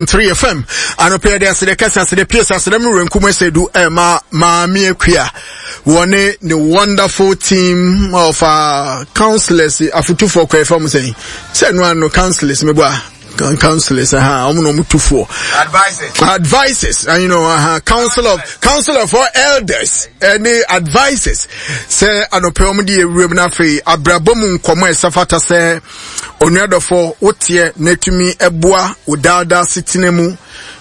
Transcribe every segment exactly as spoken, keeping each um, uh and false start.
Three F M anɔpɛ, yɛde asede kɛse, asede pie, asede mu renkum ɛsɛdu ɛma Maame Akua wɔne ne wonderful team of uh, counselors, afotufoɔ kɔ ɛfam sɛn sɛ no ano counselors mebɔ a counselors ha, ɔmo na ɔmo tufoɔ, advisors, advisors, and you know uh, council of council of all elders ɛne advisors sɛ anɔpɛ ɔmo de ewuram. Na afei abrabɔ mu nkɔmɔ a ɛsɛ fata sɛ onuadɔfo woteɛ na etumi ɛboa wo daadaa setena mu.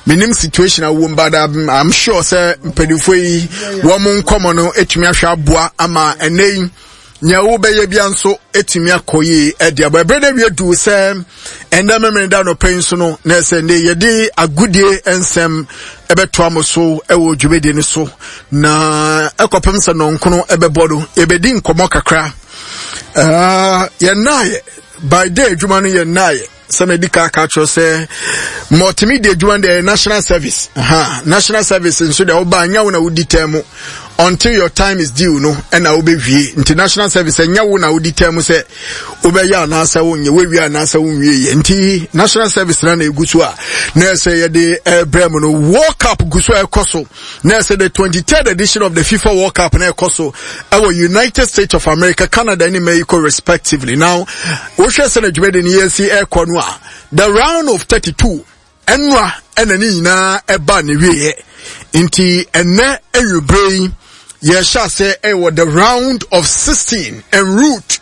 Menim situation a wɔm, but I'm, I'm sure sɛ mpanimfoɔ yi wɔn nkɔmɔ no etumi ahwɛ aboa ama ɛnɛ yi nea wobɛyɛ bia nso etumi akɔ yie. Ɛde abɔ ɛbɛrɛ na wie du sɛ ɛnɛ mímiri da nɔpɛ yi nso no na ɛsɛ ne yɛde agudie nsɛm ɛbɛtoa mo so ɛwɔ dwumadie no so, na ɛkɔpem sɛ nɔnkono ɛbɛbɔ no, yɛbɛdi nkɔmɔ kakra. uh, yɛn naayɛ by day adwuma no, yɛn naayɛ sɛ mɛdi ka ka kyerɛ sɛ multimedia adwuma deɛ, national service. Aha, national service nso deɛ, woba nyɛ wo na wodi tɛn mu until your time is due no ɛna wobɛwie. Nti national service, ɛnyɛ wo na wodi tɛn mu sɛ wobɛyɛ anaasɛ wonyɛ, woawie anaasɛ wonwie yɛ. Nti national service na na ɛgu so a na ɛsɛ yɛde ɛbrɛ mu no. World Cup gu so a ɛkɔ so, na ɛsɛ the twenty-third edition of the FIFA World Cup na ɛkɔ so ɛwɔ United States of America, Canada ne Mexico respectively. Now wohwɛ sɛ na dwumadi no yɛsi ɛkɔ no a, the round of thirty-two ɛnora ɛna ne nyinaa ɛba ne wieɛ. Nti ɛnɛ anwummerɛ yi yɛhyɛ ase ɛwɔ the round of sixteen en route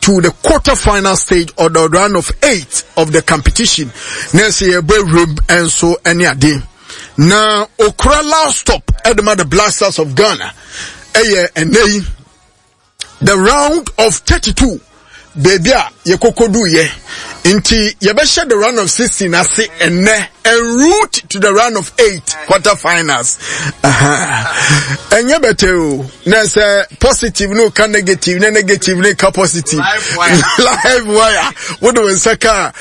to the quarter final stage or the round of eight of the competition, na ɛsɛ yɛbɔ awuram nso ɛne ade. Na okura last stop ɛde ma the Black Stars of Ghana ɛyɛ ɛnɛ yi the round of thirty-two, beebi a yɛkɔkɔdu yɛ. Nti yɛbɛhyɛ the round of sixteen ase ɛnɛ en route to the round of eight, quarter finals. Ɛnyɛ bɛtɛ o, na sɛ positive no ka negative na negative no ka positive, live wire wode wo nsa ka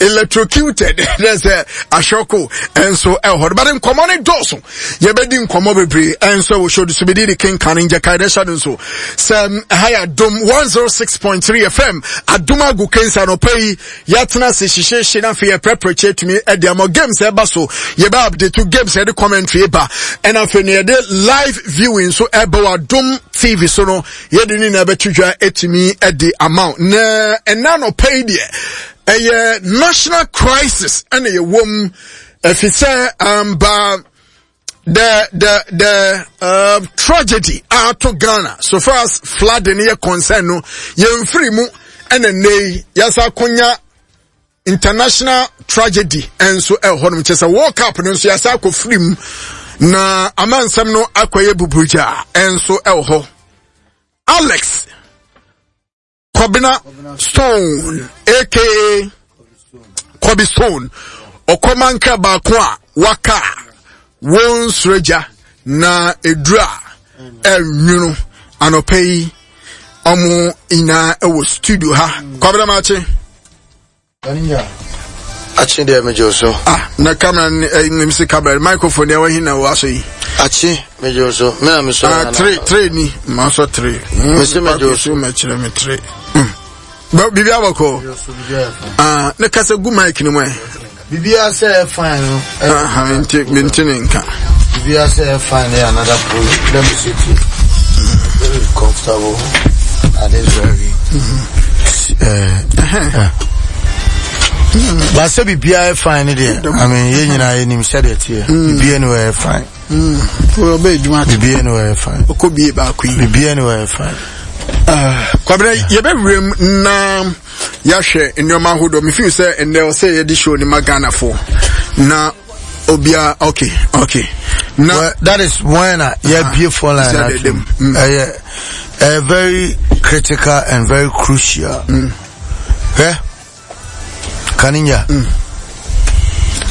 electrocuted, na sɛ ahyɔko ɛnso ɛwɔ hɔ. But nkɔmmɔ no dɔɔso, yɛbɛdi nkɔmmɔ bebree ɛnso ɛwɔ show so. Bɛdi de kenkan ngyakae dɛ hyɛ no nso sɛ ɛha yɛ Adom one oh six point three F M, Adom agu kensa. No pɛ yi yɛatena ase hyehyɛhyɛ na afei yɛprɛprɛ kyɛ tumi ɛde ama games ɛba so, yɛbɛ update to games, yɛde commentary ba, ɛna afei no yɛde live viewing nso ɛbɛ wɔ Adom T V so no, yɛde ne na ɛbɛto dwa ɛtumi ɛde ama. Na ɛna no pɛ yi deɛ, ɛyɛ national crisis ɛna yɛwɔ mu, ɛfi sɛ amba the the the uh, tragedy ato Ghana so far as flooding yɛ concern no, yɛmfiri mu, ɛna nne yi yɛsa akonya international tragedy nso ɛwɔ hɔ nom, kyerɛ sɛ World Cup no nso yɛsa akɔ firi mu na amansɛm no akɔyɛ buburugya nso ɛwɔ hɔ. Alex Kɔbena Stone A K A Kɔbi Stone, ɔkɔmanka baako a waka a wɔn nsoro agya na eduru a ɛnwunu. Anɔpɛ yi ɔmo nyinaa ɛwɔ studio ha. Kwabena, maakye. Akye deɛ, megye so. Ah, na camera ne ɛ nim si camera microphone deɛ wɔhin na wɔasɔ yi. Akye, megye so, me na mesɔ. Ah, three three ni maa sɔ three. Mese megye so. Mɛkyerɛ me three. Biribi abɔkɔ. Ah, ne kasa gu mic ni mu ɛ. Biribiara sɛ fine no. Ah, mente mente ne nka. Biribiara sɛ fine no yɛ another problem. Let me sit here very comfortable at this very uh, uh. But sɛ biribiara yɛ fine no deɛ, I mean, yɛn nyinaa yɛnim sɛdeɛ teɛ. Biribiara ni wɔ yɛ fine. Ɔbɛ adwuma. Biribiara ni wɔ yɛ fine. Ɔkɔ bie baako yi. Biribiara ni wɔ yɛ fine. Kwabena, yɛbɛwura mu na yɛahwɛ nneɛma ahodoɔ. Mefeel sɛ ɛnnɛ ɔsɛ yɛde show ne ma Ghanafoɔ na obia okay okay na well, that is when uh, yɛabie phone line ato. Ɛyɛ ɛyɛ very critical and very crucial. Hwɛ, Kaninya,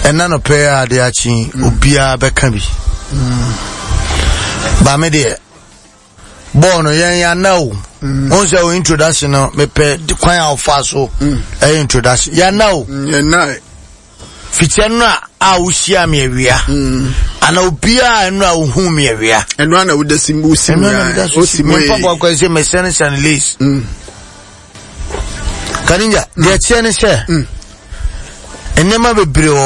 ɛna no pɛ a ade akye, obiara bɛka bi ba me deɛ bɔɔl no yɛn yana o. Wọn sɛ o introduction no, mepɛ kwan a ɔfa so ɛyɛ introduction yana o. Yɛna. Fikyɛ no a a wohyia me awia ana obiara ɛno a wohu me awia. Ɛno ana woda si mu si mu ya osi mu. Memfa bɔ akɔ sɛ mesɛnesɛne lace. Kaninja, deɛ kyerɛ ne sɛ Nneɛma bebree wɔ